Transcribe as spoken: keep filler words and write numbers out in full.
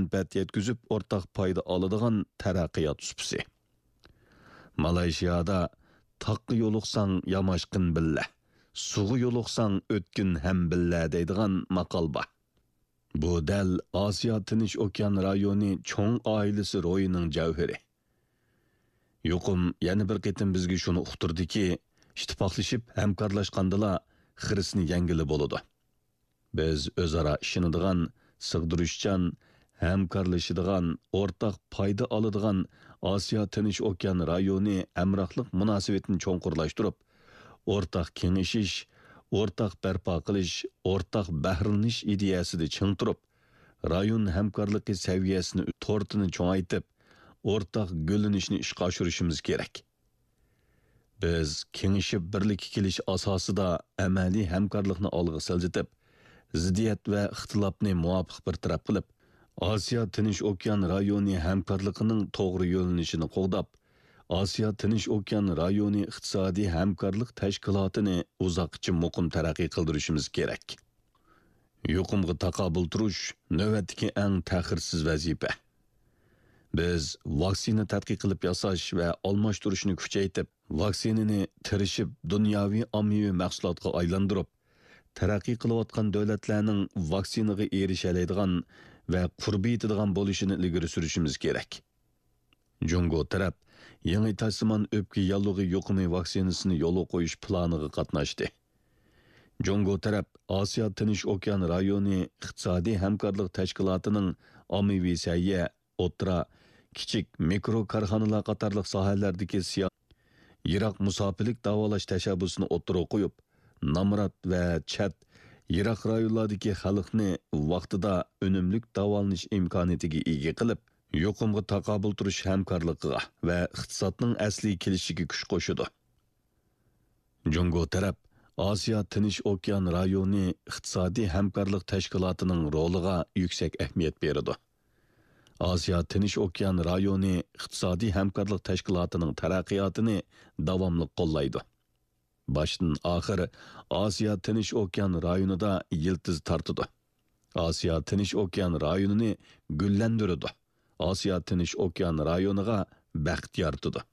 مەنپەئەت يەتكۈزۈپ ئورتاق پايدا ئالىدىغان تەرەققىيات سۇپىسى. مالايشىيادا «تاغقا يولۇقساڭ ياماشقىن بىللە، سۇغا يولۇقساڭ ئۆتكۈن ھەم بىللە» دەيدىغان ماقال بار. بۇ دەل ئاسىيا تىنچ ئوكيان رايونى چوڭ ئائىلىسى روھىنىڭ جەۋھىرى. يۇقۇم يەنە بىر قېتىم بىزگە شۇنى ئۇقتۇردىكى، ئىتتىپاقلىشىپ ھەمكارلاشقاندىلا خىرىسنى يەڭگىلى بولىدۇ. بىز ئۆزئارا ئىشىنىدىغان، سىغدۇرۇشچان، ھەمكارلىشىدىغان، ئورتاق پايدا ئالىدىغان ئاسىيا تىنچ ئوكيان رايونى ھەمراھلىق مۇناسىۋىتىنى چوڭقۇرلاشتۇرۇپ، ئورتاق كېڭىشىش، ئورتاق بەرپا قىلىش، ئورتاق بەھرىلىنىش ئىدىيەسىدە چىڭ تۇرۇپ، رايون ھەمكارلىقى سەۋىيەسىنى، تورتىنى چوڭايتىپ، ئورتاق گۈللىنىشنى ئىشقا ئاشۇرۇشىمىز كېرەك. بىز كېڭىشىپ بىرلىككە كېلىش ئاساسىدا ئەمەلىي ھەمكارلىقنى ئالغا سىلجىتىپ، زىددىيەت ۋە ئىختىلاپنى مۇۋاپىق بىر تەرەپ قىلىپ، ئاسىيا تىنچ ئوكيان رايونى ھەمكارلىقىنىڭ توغرا يۆنىلىشىنى قوغداپ، ئاسىيا تىنچ ئوكيان رايونى ئىقتىسادىي ھەمكارلىق تەشكىلاتىنى ئۇزاققىچە مۇقىم تەرەققىي قىلدۇرۇشىمىز كېرەك. يۇقۇمغا تاقابىل تۇرۇش نۆۋەتتىكى ئەڭ تەخىرسىز ۋەزىپە. بىز ۋاكسىنا تەتقىق قىلىپ ياساش ۋە ئالماشتۇرۇشنى كۈچەيتىپ، ۋاكسىنىنى تىرىشىپ دۇنياۋى ئاممىۋى مەھسۇلاتقا ئايلاندۇرۇپ، تەرەققىي قىلىۋاتقان دۆلەتلەرنىڭ ۋاكسىنىغا ئېرىشەلەيدىغان ۋە قۇربى يېتىدىغان بولۇشىنى ئىلگىرى سۈرۈشىمىز كېرەك. جۇڭگو تەرەپ يېڭى تاشسىمان ئۆپكە ياللۇغى يۇقۇمى ۋاكسىنىسىنى يولغا قويۇش پىلانىغا قاتناشتى. جۇڭگو تەرەپ ئاسىيا تىنچ ئوكيان رايونى ئىقتىسادىي ھەمكارلىق تەشكىلاتىنىڭ ئاممىۋى سەھىيە، ئوتتۇرا، كىچىك، مىكرو كارخانىلار قاتارلىق ساھەلەردىكى سىيا-، يىراق مۇساپىلىك داۋالاش تەشەببۇسىنى ئوتتۇرىغا قويۇپ، نامرات ۋە چەت، يىراق رايونلاردىكى خەلقنى ۋاقتىدا ئۈنۈملۈك داۋالىنىش ئىمكانىيىتىگە ئىگە قىلىپ، يۇقۇمغا تاقابىل تۇرۇش ھەمكارلىقىغا ۋە ئىقتىسادنىڭ ئەسلىگە كېلىشىگە كۈچ قوشىدۇ. جۇڭگو تەرەپ ئاسىيا تىنچ ئوكيان رايونى ئىقتىسادىي ھەمكارلىق تەشكىلاتىنىڭ رولىغا يۈكسەك ئەھمىيەت بېرىدۇ. ئاسىيا تىنچ ئوكيان رايونى ئىقتىسادىي ھەمكارلىق تەشكىلاتىنىڭ تەرەققىياتىنى داۋاملىق قوللايدۇ. باشتىن ئاخىر ئاسىيا تىنچ ئوكيان رايونىدا يىلتىز تارتىدۇ. ئاسىيا تىنچ ئوكيان رايونىنى گۈللەندۈرىدۇ. ئاسىيا تىنچ ئوكيان رايونىغا بەخت يارىتىدۇ.